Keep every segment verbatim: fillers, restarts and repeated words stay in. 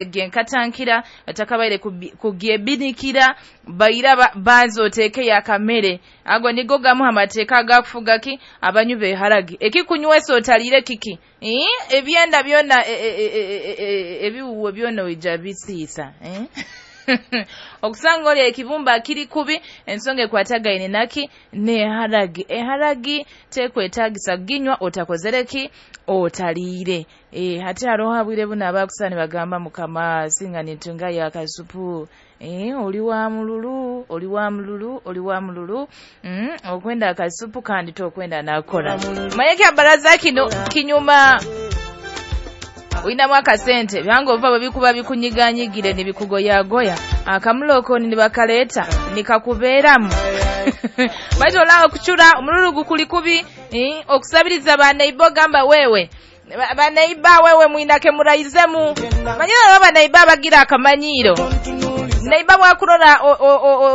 Genkatankira otakabaire kugyebinikira baira banza oteekeyo akamere. Ago nigo gamu amateeka agakufuga ki abanywi b'eharagi. Ekikunywesa otaliire kiki? Ebyenda byona, ebiwuwe byona oija bisiisa. Okusanga oli ekibumba kiri kubi, ensonga ekwatagaine naki n'eharagi. Eharagi tekwetagisa ginywa otakozere ki? Otaliire. E, hati haroho abwire buno abakusana nibagamba, "Mukama, singa nitungayo akasupu." E, oli wa mululu, oli wa mululu, oli wa mululu. mm, okwenda akasupu kandi tokwenda nakora. Manye kyabaraza kino kinyuma oyinamu akasente, byange ova bwe bikuba bikunyiganyigire nibikugoyagoya, akamulokoni nibakaleeta nikakubeeramu, baitu olaba okucura omululu gukuli kubi. eh, okusabiriza baneiba, ogamba wewe baneiba, wewe mwinake muraizemu. Manyira aba baneiba abagira akamanyiiro. Neiba bwakurora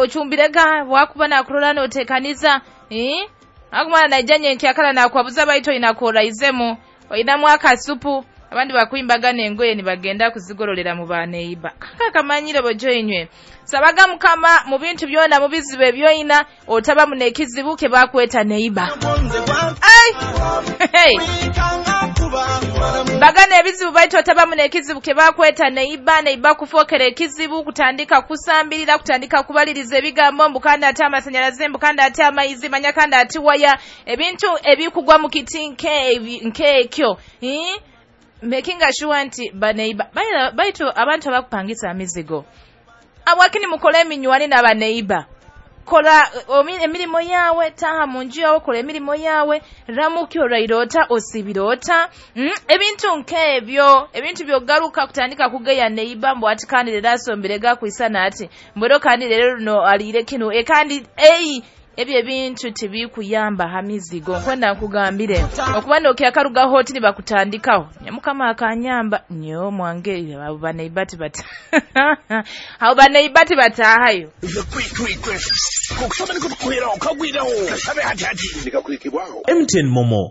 ocumbirega, bwakuba nakurora notekaniza, eh? Akumala naija nyenkyakala nakwabuza, baitu oyinakoraizemu, oyinamu akasupu. Abandi bakwimbaga engoye nibagenda kuzigorolera mu baneiba. Kaka akamanyiro bojoinywe. Sabaga Mukama mu bintu byona, mu bizibu ebyoyina, otabamu n'ekizibu ke bakweta neiba. Ai! Hey! Bagana ebizibu, baitu otabamu n'ekizibu ke bakweta neiba. Neiba kufookera ekizibu, kutandika kusambirira, kutandika kubaliriza ebigambo mbu kandi ate amasanyalaze, mbu kandi ate amaizi, manya kandi ati waya, ebintu ebikugwa mu kiti nk'ekyo. Making sure nti baneiba, baitu abantu abakupangisa emizigo, abwakini mukole eminywani n'abaneiba. Kola emirimu yawe, taha mu nju yawe, kola emirimu yawe, ramuki oraire ota, osibire ota, mm? Ebintu nk'ebyo, ebintu byogaruka kutandika kugeya neiba mbu ati kandi leero asombere gakwisana, ati mbwero kandi leero luno aliire kino, e kandi ei ebyo ebintu tibikuyamba ha mizigo. Nkwenda nkugambire, okuba nokyakarugaho oti nibakutandikaho. Mukama akanyamba nyo mwange, abo baneiba tibata abo baneiba tibataahayo. M T N MoMo.